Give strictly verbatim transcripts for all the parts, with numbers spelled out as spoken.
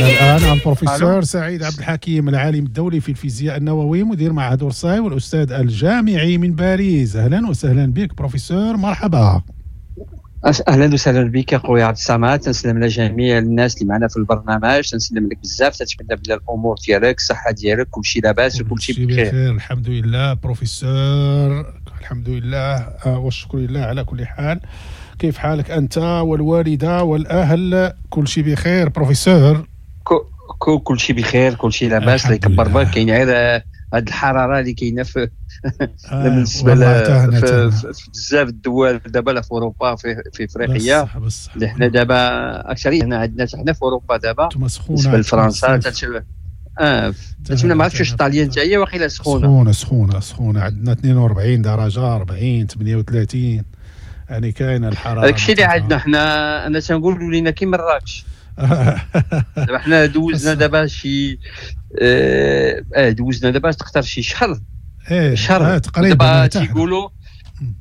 معنا الان البروفيسور سعيد عبد الحكيم، العالم الدولي في الفيزياء النووي، مدير معهد اورساي والاستاذ الجامعي من باريس. اهلا وسهلا بك بروفيسور، مرحبا. اهلا وسهلا بك اخويا عبد الصمد، تنسلم على جميع الناس اللي معنا في البرنامج، تنسلم لك بزاف، تنتمنى بلي الامور ديالك، الصحة ديالك، كلشي لاباس وكلشي بخير. بخير الحمد لله بروفيسور، الحمد لله آه، والشكر لله على كل حال. كيف حالك انت والوالدة والاهل؟ كل شيء بخير بروفيسور؟ كل شيء بخير، كل شيء لاباس، الله يكبر بك. كاين غير هاد الحرارة اللي كاينه في آه بالنسبة في, في بزاف الدول دابا، لا في اوروبا، في, في افريقيا اللي حنا دابا اكثرية هنا عندنا حنا في اوروبا دابا بالنسبة لفرنسا اه تتمنى، ما عرفتش واش الطاليان حتى هي واقيلا سخونه. سخونه سخونه سخونه، عندنا اثنين وأربعين درجه، أربعين، ثمانية وثلاثين، يعني كاينه الحرارة. داك الشيء اللي عندنا حنا، انا تنقول ولينا كي مراكش. دابا حنا دوزنا دابا شي اه, آه، دوزنا دابا تقدر شي شهر. ايه شهر آه تقريبا. دابا تيقولوا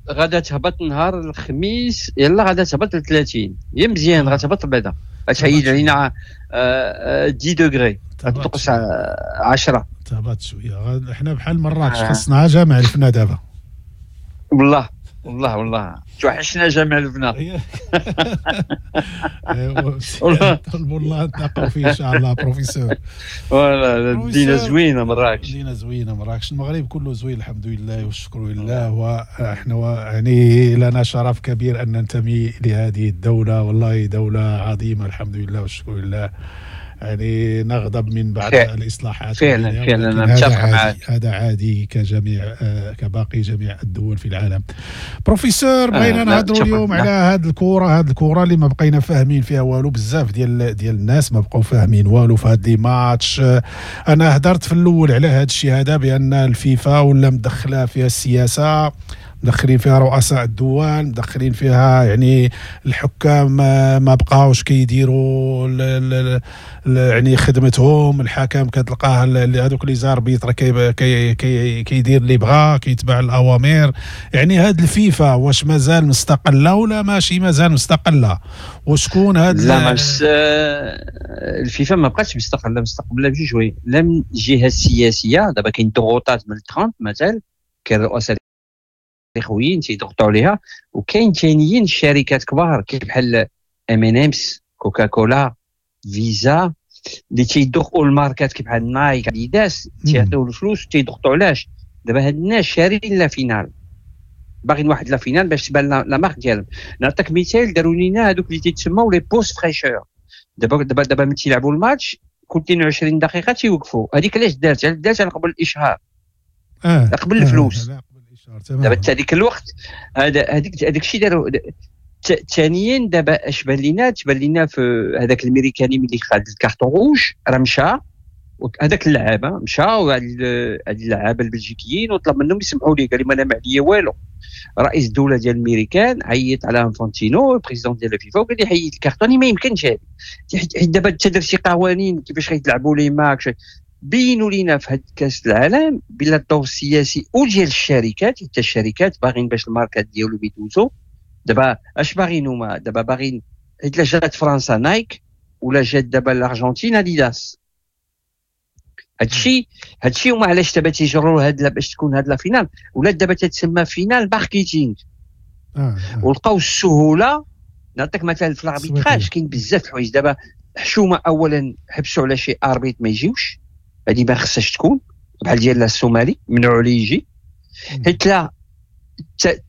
غادا تهبط نهار الخميس، يلا غادا تهبط ل ثلاثين، هي مزيان غتهبط بعدا، غتحيد علينا عشرة degrés، غتنقص عشرة. تهبط شويه. حنا بحال مراكش آه. خصنا جامع الفنا دابا. والله والله والله توحشنا جامع الفنا. طلبوا الله نتلاقاو فيه ان شاء الله بروفيسور. والله المدينة زوينة مراكش، المدينة زوينة مراكش، المغرب كله زوين الحمد لله والشكر لله. واحنا يعني لنا شرف كبير ان ننتمي لهذه الدوله، والله دولة عظيمة الحمد لله والشكر لله. يعني نغضب من بعض الاصلاحات. فعلا فعلا انا متفق معك، هذا عادي كجميع كباقي جميع الدول في العالم. بروفيسور بغينا آه نهضروا اليوم على هذه الكره، هذه الكره اللي ما بقينا فاهمين فيها والو، بزاف ديال ديال الناس ما بقاو فاهمين والو في هاد les matchs. انا هدرت في الاول على هذا الشيء هذا بان الفيفا ولا مدخله فيها السياسة، مدخلين فيها رؤساء الدول، مدخلين فيها يعني الحكام ما بقاوش كيديروا يعني خدمتهم. الحكم كتلقاه هذوك les arbitres كي كي كيدير اللي بغا، كيتبع الاوامر. يعني هاد الفيفا واش مازال مستقلة ولا ماشي مازال مستقلة؟ وشكون هاد؟ لا مش الفيفا ما بقاتش مستقلة، مستقلة بجوج شوية، لا من الجهة السياسية دابا كاين ضغوطات من ترامب مثلا، كاين رؤساء الاخويين تيضغطوا عليها، وكاين ثانيين شركات كبار كيف بحال ام ان امس، كوكاكولا، فيزا، اللي تيضخوا الماركات كيف بحال نايك، اديداس، تيعطيو الفلوس تيضغطوا. علاش؟ دابا هاد الناس شارين la finale، باغيين واحد la finale باش تبان la marque ديالهم. نعطيك مثال، داروا لينا هذوك اللي تيتسموا les pauses fraîcheur. دابا دابا دابا ملي تيلعبوا الماتش كل اثنين وعشرين دقيقة تيوقفوا. هذيك علاش دارت؟ دارت على قبل الاشهار، آه. قبل الفلوس. آه. دابا حتى هذيك الوقت هذا هذيك هذاك الشيء داروا. ثانيا دابا اش بان لينا؟ تبان لينا في هذاك الميريكاني ملي خد ال carton rouge راه مشى، هذاك اللعابه مشى، وهاد اللعابه البلجيكيين وطلب منهم يسمحوا ليه، قال لهم انا ما عليا والو. رئيس الدولة ديال الميريكان عيط على انفانتينو ال président ديال الفيفا وقال لي حيد الكارطون، ما يمكنش هذه، حيت دابا انت درتي قوانين كيفاش غيتلعبوا les matchs. بينوا لينا في هذا كاس العالم بلا الدور السياسي وديال الشركات، حتى الشركات باغين باش الماركات ديالهم يدوزو. دابا اش باغيين هما؟ دابا باغين حيت لا جات فرنسا نايك، ولا جات دابا الارجنتين اديداس. هادشي هادشي هما علاش دابا تيجروا هاد باش تكون هاد la finale، ولا دابا تتسمى finale marketing. آه آه. ولقاو السهولة. نعطيك مثلا في l'arbitrage كاين بزاف الحوايج دابا حشومه. اولا حبسوا على شي arbitre ما يجيوش، هذه ما خصهاش تكون، بحال ديال الصومالي منعوا عليه يجي، حيت لا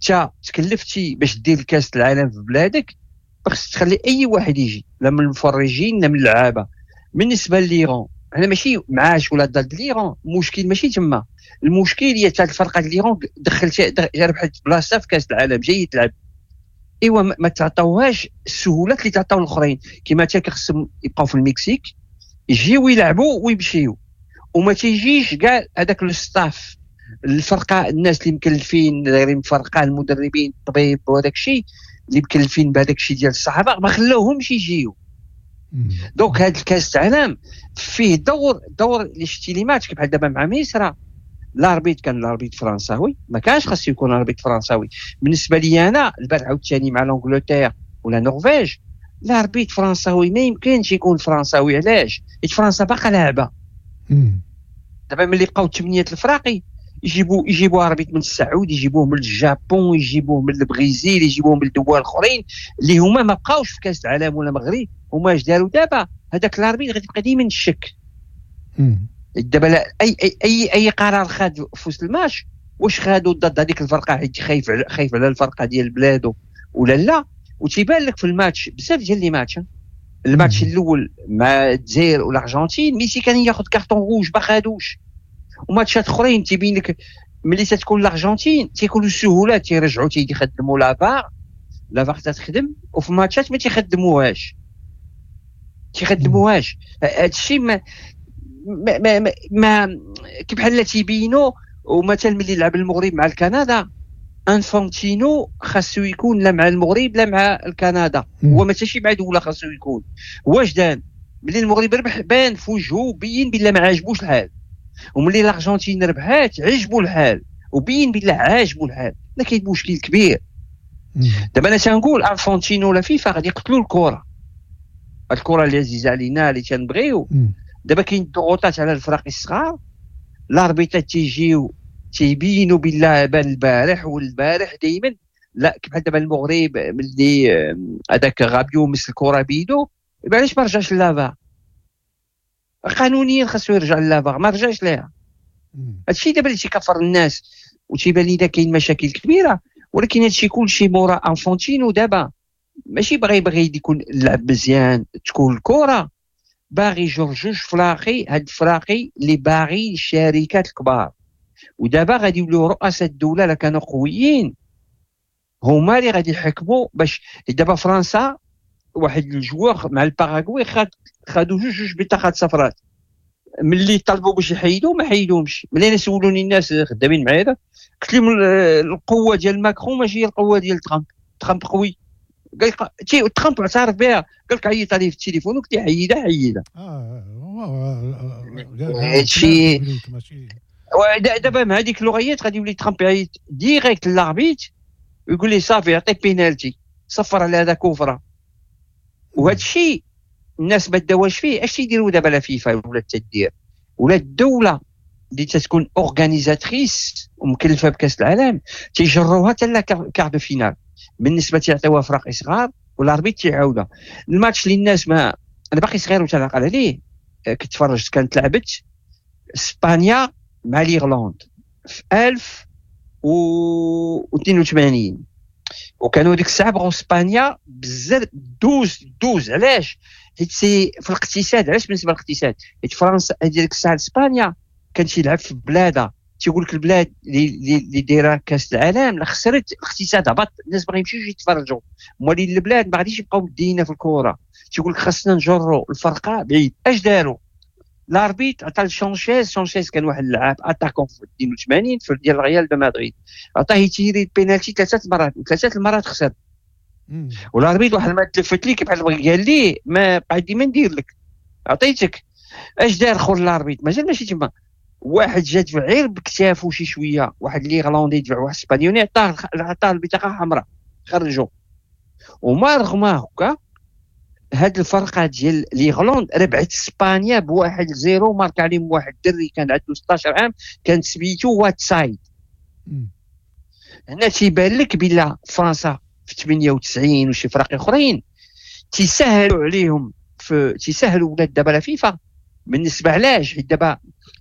تا تكلفتي باش دير الكاس العالم في بلادك خصك تخلي اي واحد يجي، لا من المفرجين لا من اللعابه. بالنسبة l'Iran حنا ماشي معاش ولا ضد l'Iran، المشكل ماشي تما، المشكل هي تاع الفرقة l'Iran دخلت ربحت بلاصة في كاس العالم جاي تلعب، ايوا ما تعطوهاش السهولات اللي تعطاو الاخرين. كما تا خصهم يبقاو في المكسيك يجيو يلعبوا ويمشيو، وما تيجيش كاع هذاك le staff الفرقة، الناس اللي مكلفين دايرين فرقه، المدربين، الطبيب وهذاك الشيء اللي مكلفين بهذاك الشيء ديال الصحافة ما خلاوهمش يجيو. donc هذا الكاس العالم فيه دور دور الاستلامات بحال دابا مع مصر، l'arbitre كان l'arbitre فرنساوي، ما كانش خاص يكون l'arbitre فرنساوي. بالنسبة لي انا البارح عاوتاني مع l'Angleterre ولا نرويج، l'arbitre فرنساوي ما يمكنش يكون فرنساوي. علاش؟ حيت فرنسا باقا لاعبه. دابا ملي بقاو ثمانية الفراقي يجيبوا يجيبوا arbitre من السعود، يجيبوه من الجابون، يجيبوه من البرازيل، يجيبوه من الدول الاخرين اللي هما ما بقاوش في كاس العالم ولا المغرب. هما اش داروا دابا؟ هذاك l'arbitre غادي يبقى ديما الشك. دابا اي اي اي اي قرار خاد في وسط الماتش، واش خادو ضد هذيك الفرقة حيت خايف خايف على الفرقة ديال بلادو ولا لا؟ وتيبان لك في الماتش بزاف ديال les matchs. الماتش الاول مع الجزائر والارجنتين ميسي كان ياخذ carton rouge ما خادوش، وماتشات اخرين تيبين لك ملي تتكون الارجنتين تيكونوا السهولات، تيرجعوا تيخدموا la VAR، la VAR تتخدم، وفي ماتشات ما تيخدموهاش تيخدموهاش. هادشي ما ما ما, ما, ما كي بحال تيبينوا. ومثلا ملي لعب المغرب مع الكندا، انفانتينو خاصو يكون لا مع المغرب لا مع الكندا، هو ماشي مع دولة خاصو يكون. واش دان ملي المغرب ربح بان في وجهه بين بلا ما عاجبوش الحال، وملي الارجنتين ربحات عجبو الحال وبين بلا عاجبو الحال. لا كاين مشكل كبير. دابا انا تنقول انفانتينو لا فيفا غادي يقتلوا الكره، الكره اللي عزيزه علينا اللي تنبغيو. دابا كاين الضغوطات على الفرق الصغار، l'arbitre ات تيجيو تيبينوا بالله بان البارح والبارح دائما. لا بحال دابا المغرب ملي هذاك غابيو مس الكره بيدو، علاش ما رجعش la VAR؟ قانونيا خاصو يرجع la VAR، ما رجعش ليها. هادشي دابا اللي تيكفر الناس وتيبان لي كاين مشاكل كبيرة. ولكن هادشي كلشي مورا انفانتينو دابا ماشي باغي باغي يكون اللعب مزيان تكون الكره، باغي يجر جوج فراقي، هاد الفراقي اللي باغي الشركات الكبار. ودابا غادي يوليو رؤساء الدولة لا كانوا قويين هما اللي غادي يحكموا. باش دابا فرنسا واحد ال joueur مع الباراغواي خاد خادو جوج جوج بطاقات صفراء، ملي طلبوا باش يحيدوا ما حيدوهمش. ملي انا سولوني الناس خدامين معايا قلت لهم القوة ديال ماكرون ماشي هي القوة ديال ترامب، ترامب قوي. قال لك ترامب اعترف بها، قال لك عيط عليه في التليفون وقلت له حيدها حيدها. اه هادشي دابا مع هذيك اللغيات غادي يولي ترامب يعيط direct l'arbitre ويقول لي صافي يعطيك بينالتي، صفر على هذا كفره. وهذا الشيء الناس ما داواش فيه. اش تيديروا دابا la FIFA ولا تدير ولا الدولة اللي تتكون organisatrice ومكلفه بكاس العالم تيجروها حتى la quart de finale بالنسبة تيعطيوها فرق صغار و l'arbitre تيعاودها. الماتش اللي الناس ما انا باقي صغير وتنعقل عليه، كنت تفرجت، كانت لعبت اسبانيا مع l'Irlande في ألف واثنين وثمانين، وكانوا ديك الساعة بغاو اسبانيا بزاف دوز دوز. علاش؟ حيت c'est في الاقتصاد. علاش بالنسبة للاقتصاد؟ حيت فرنسا ديك الساعة اسبانيا كان تيلعب في بلادها، تيقول لك البلاد اللي اللي دايرة كاس العالم لا خسرت الاقتصاد هبط، الناس باغي يمشيو يتفرجوا، موالين البلاد ما غاديش يبقاو مدينا في الكره. تيقول لك خاصنا نجروا الفرقة بعيد. اش داروا؟ l'arbitre عطى لشانشيز، شانشيز كان واحد اللاعب attaquant في اثنين وثمانين في ديال الريال de مدريد، عطاه يتيري البينالتي ثلاثة مرات، ثلاثة المرات خسر. و l'arbitre واحد ما تلفت لي بحال قال لي ما بقى ديما ندير لك عطيتك. اش دار خور l'arbitre؟ مازال ماشي تما، واحد جا دفع غير بكتافو شي شوية، واحد l'Irlandais دفع واحد اسبانيوني عطاه عطاه البطاقة الحمراء خرجوا. وما رغم هكا هاد الفرقة ديال l'Irlande ربحت اسبانيا بواحد zéro، مارك عليهم واحد الدري كان عنده ستة عشر عام كان سميتو واتسايد. هنا تيبان لك بلا فرنسا في ثمانية وتسعين وشي فرق اخرين تيسهلوا عليهم في تيسهلوا ولاد دابا la FIFA بالنسبة. علاش؟ حيت دابا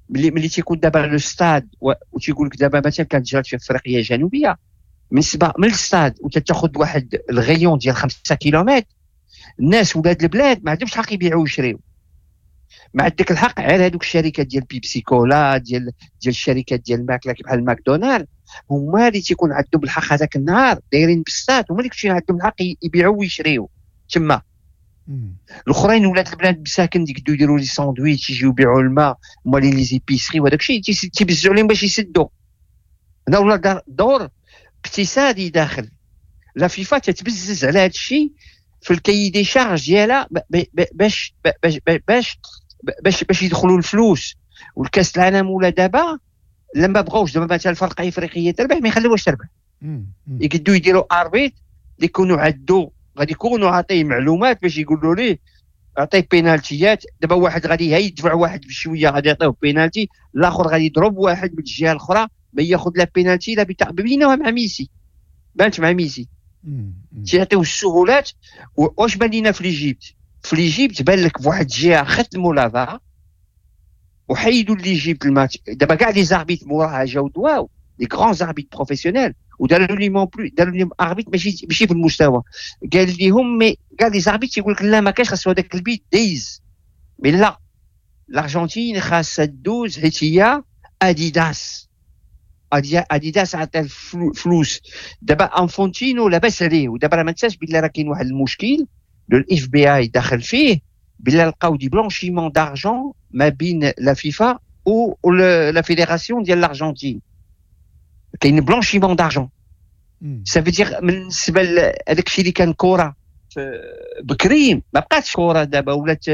ملي ملي تيكون دابا le stade وتيقول لك دابا مثلا كانت جرات في افريقيا الجنوبية بالنسبة من الستاد وتاخذ واحد ال rayon ديال خمسة كيلومتر، الناس ولاد البلاد ما عندهمش الحق يبيعوا ويشريو، ما عندك الحق على هذوك الشركات ديال بيبسي كولا ديال ديال الشركات ديال الماكلة بحال ماكدونالد، هما اللي تيكون عندهم الحق هذاك النهار دايرين بالستاد، هما اللي كيكون عندهم الحق يبيعوا ويشريو تما. الاخرين ولاد البلاد مساكن يقدروا يديروا les sandwichs، يجيو يبيعوا الماء، هما les épiceries وهذاك الشيء تيبزعوا عليهم باش يسدوا. هنا ولا دور اقتصادي داخل la FIFA تتبزز على هذا الشيء في ال cahier des charges ديالها باش باش باش باش باش يدخلوا الفلوس. والكاس العالم ولا دابا لما بغاوش دابا مثلا الفرقة الافريقية تربح ما يخليوهاش تربح، يقدروا يديروا arbitre اللي يكونوا عندو غادي يكونوا عاطيه معلومات باش يقولوا ليه عطية بينالتيات. دابا واحد غادي يدفع واحد بشوية غادي يعطيوه بينالتي، الاخر غادي يضرب واحد من الجهة الاخرى ما ياخذ لا بينالتي لا بتاع. بينوها مع ميسي، بانت مع ميسي تيعطيو السهولات. واش بان لينا في l'Égypte؟ في l'Égypte بان لك بواحد الجهة ختموا la VAR وحيدوا l'Égypte الماتش. دابا كاع les arbitres موراها جاو دواو les grands arbitres professionnels وداروا ليهم plus، داروا ليهم arbitre ماشي ماشي في المستوى. قال لهم mais كاع les arbitres يقول لك لا ما كاش، خاصو هذاك البيت دايز. mais لا الارجنتين خاصها دوز حيت هي اديداس، اديداس عطى الفلوس. دابا انفونتينو لاباس عليه، ودابا راه ما تنساش بلي راه كاين واحد المشكل le FBI داخل فيه، بلي لقاو des blanchiments d'argent ما بين la FIFA و la fédération ديال الارجنتين. كاين blanchiment d'argent، ça veut dire بالنسبة لهذاك الشيء اللي كان كره بكري ما بقاتش كره دابا، ولات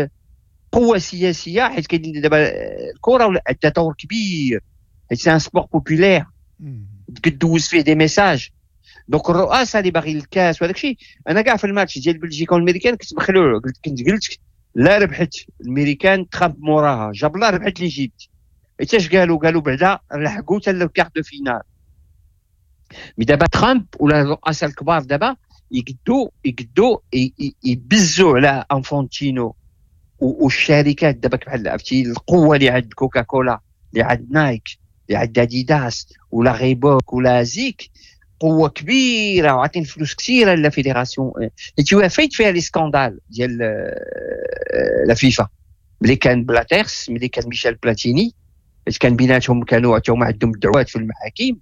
قوة سياسية. حيت كاين دابا الكره عندها دور كبير، حيت c'est un sport populaire كدوز فيه des messages. donc الرؤساء اللي باغي الكاس وهذاك الشيء. انا كاع في الماتش ديال بلجيكا والامريكان كنت مخلوع، قلت كنت قلت لا ربحت الميريكان ترامب موراها، جاب الله ربحت l'Égypte. حيتاش قالوا قالوا بعدا لحقوا حتى ال quart de finale. mais دابا ترامب ولا الرؤساء الكبار دابا يقدوا يقدوا يبزوا على انفونتينو والشركات دابا بحال عرفتي القوة اللي عند كوكاكولا، اللي عند نايك، اللي عند اديداس ولا ريبوك ولا زيك، قوة كبيرة وعاطين فلوس كثيرة la fédération. حيت فايت فيها les scandales ديال la FIFA ملي كان بلاتيرس، ملي كان ميشيل بلاتيني، حيت كان بيناتهم كانوا حتى هما عندهم الدعوات في المحاكم،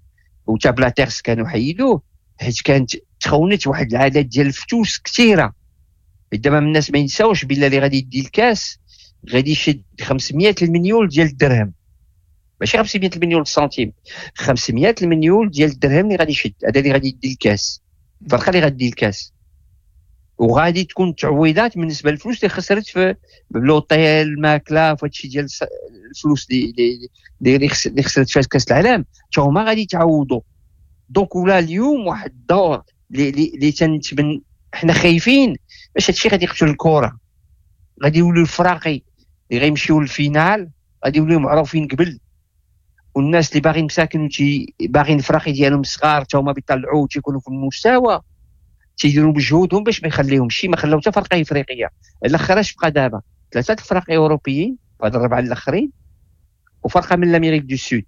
وتا بلاتيرس كانوا حيدوه حيت كانت تخونت واحد العدد ديال الفتوس كثيرة. دابا الناس ما ينساوش بلي اللي غادي يدي الكاس غادي يشد خمسمية المليون ديال الدرهم، ماشي خمسمية المليون سنتيم، خمسمية المليون ديال الدرهم اللي غادي يشد، هذا اللي غادي يدي الكاس، الفرقة اللي غادي يدي الكاس. وغادي تكون تعويضات بالنسبة للفلوس اللي خسرت في l'hôtel، الماكلة، في هادشي ديال الفلوس اللي اللي خسرت في كاس العالم، حتى هما غادي يتعوضوا. donc ولا اليوم واحد الدور اللي اللي تنتمن حنا خايفين باش هادشي غادي يقتل الكره، غادي يوليو الفراقي اللي غيمشيو لل finale غادي يوليو معروفين قبل، والناس اللي باغيين مساكن باغيين الفراقي ديالهم صغار حتى هما بيطلعوا تيكونوا في المستوى، تيديروا مجهودهم باش ما يخليهمش. ما خلاو حتى فرقه افريقية. الاخر اش بقى دابا؟ ثلاثة الفرق اوروبيين هاد الربعه الاخرين وفرقه من l'Amérique du Sud.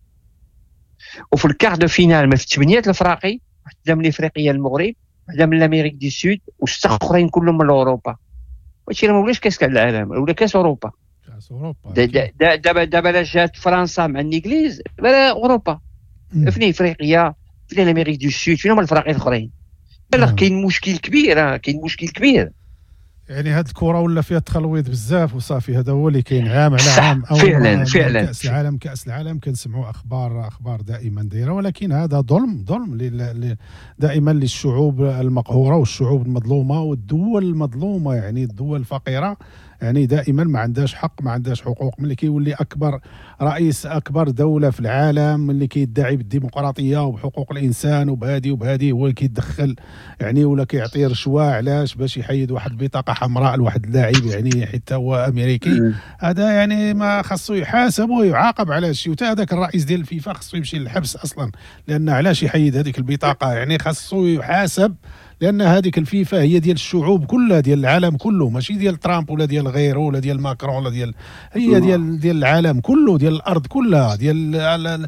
وفي ال quart de finale ما في ثمانية الفراقي، وحده من افريقيا المغرب، وحده من l'Amérique du Sud، وستة اخرين كلهم من اوروبا. هادشي راه ما ولاش كاس العالم، ولا كاس اوروبا. كاس اوروبا دابا دابا لا جات فرنسا مع الانجليز بلا اوروبا، فين افريقيا، فين l'Amérique du Sud، فين هما الفراقي الاخرين؟ لا كاين مشكل كبير، كاين مشكل كبير. يعني هاد الكره ولا فيها تخلويض بزاف وصافي، هذا هو اللي كاين عام على عام. أو فعلا فعلا كاس العالم، كاس العالم كنسمعوا اخبار اخبار دائما دايرة، ولكن هذا ظلم، ظلم دائما للشعوب المقهوره والشعوب المظلومة والدول المظلومة، يعني الدول الفقيرة يعني دائما ما عندهاش حق، ما عندهاش حقوق. ملي كيولي اكبر رئيس اكبر دولة في العالم اللي كيدعي بالديمقراطية وبحقوق الانسان وبهادي وبهادي، هو اللي كيتدخل يعني ولا كيعطي رشوة علاش؟ باش يحيد واحد البطاقة حمراء لواحد اللاعب يعني حتى هو امريكي. هذا يعني ما خاصو يحاسب ويعاقب على هادشي. وتا هذاك الرئيس ديال الفيفا خاصو يمشي للحبس اصلا، لان علاش يحيد هذيك البطاقة؟ يعني خاصو يحاسب، لان هذيك الفيفا هي ديال الشعوب كلها، ديال العالم كله، ماشي ديال ترامب ولا ديال غيره ولا ديال ماكرون ولا ديال، هي ديال ديال العالم كله، ديال الارض كلها، ديال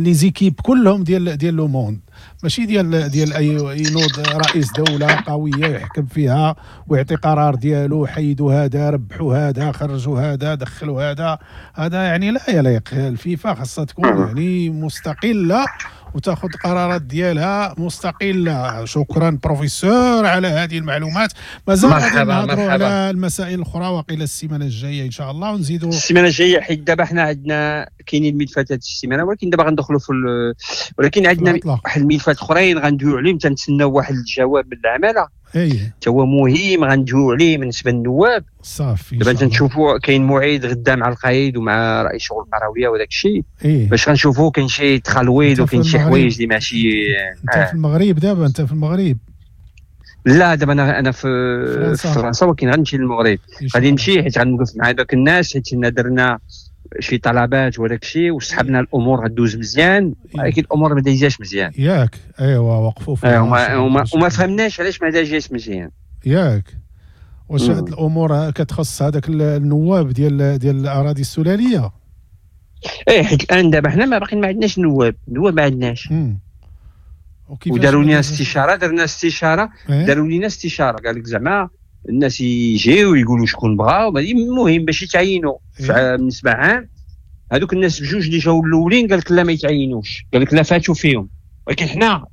les équipes كلهم، ديال ديال le monde، ماشي ديال ديال اي ينوض رئيس دولة قوية يحكم فيها ويعطي قرار ديالو، حيدوا هذا، ربحوا هذا، خرجوا هذا، دخلوا هذا. هذا يعني لا يليق. الفيفا خاصها تكون يعني مستقلة وتاخذ قرارات ديالها مستقلة. شكرا بروفيسور على هذه المعلومات. مازال غادي نهضروا على المسائل الاخرى وقيل السيمانة الجاية ان شاء الله، ونزيدوا السيمانة الجاية، حيت دابا حنا عندنا كاينين الملفات هذه السيمانة، ولكن دابا غندخلوا في ال... ولكن عندنا واحد الملفات اخرين غندويو عليهم، تنتسناو واحد الجواب من العمالة حتى هو مهم غندويو عليه بالنسبة للنواب. صافي دابا تنشوفوا كاين موعد غدا مع القايد ومع رئيس شغل القرويه وداك الشيء، إيه؟ باش غنشوفوا كاين شي تخلويض وكاين شي حوايج اللي ماشي. انت آه. في المغرب دابا؟ انت في المغرب؟ لا دابا انا انا في فرنسا, في فرنسا ولكن غنمشي للمغرب. غادي نمشي حيت غنوقف مع دوك الناس، حيت درنا شي طلبات وداك الشيء وسحبنا الامور غدوز مزيان، ولكن الامور ما دايزاش مزيان. ياك ايوا وقفوا فيها وما, وما, وما فهمناش علاش ما دايزاش مزيان. ياك واش هاد الامور كتخص هذاك النواب ديال ديال الاراضي السلاليه؟ ايه حيت الان دابا حنا ما باقيين ما عندناش نواب، نواب ما عندناش. وداروا لنا استشاره، درنا استشاره، إيه؟ داروا لنا استشاره قال لك زعما الناس يجيو ويقولوا شكون بغاو، المهم باش يتعينوا. إيه؟ بالنسبة عام هذوك الناس بجوج اللي جاو الاولين قال لك لا ما يتعينوش، قال لك لا فاتوا فيهم. ولكن حنا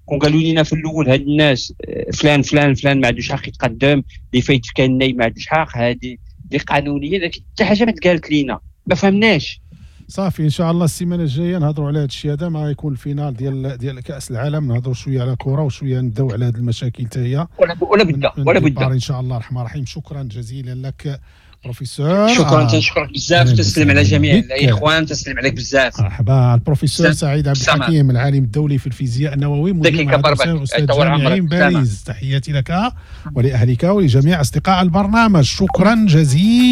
كون قالوا لنا في الاول هاد الناس فلان فلان فلان ما عندوش حق يتقدم، اللي فايت كان نايم ما عندوش حق، هذه اللي قانونية، لكن حتى حاجة ما تقالت لينا، ما فهمناش. صافي ان شاء الله السيمانة الجاية نهضروا على هذا الشيء هذا، ما يكون ال finale ديال ديال كاس العالم، نهضروا شوية على الكره وشوية نبداو على هذه المشاكل حتى هي ولا ولا بدا ولا بدا ان شاء الله الرحمن الرحيم. شكرا جزيلا لك بروفيسور. شكرا، تنشكرك بزاف، تسلم على جميع الاخوان، تسلم عليك بزاف. مرحبا. البروفيسور سعيد عبد الحكيم العالم الدولي في الفيزياء النووي، مدير استاذ جامعي باريس. تحياتي لك ولاهلك ولجميع اصدقاء البرنامج، شكرا جزيلا.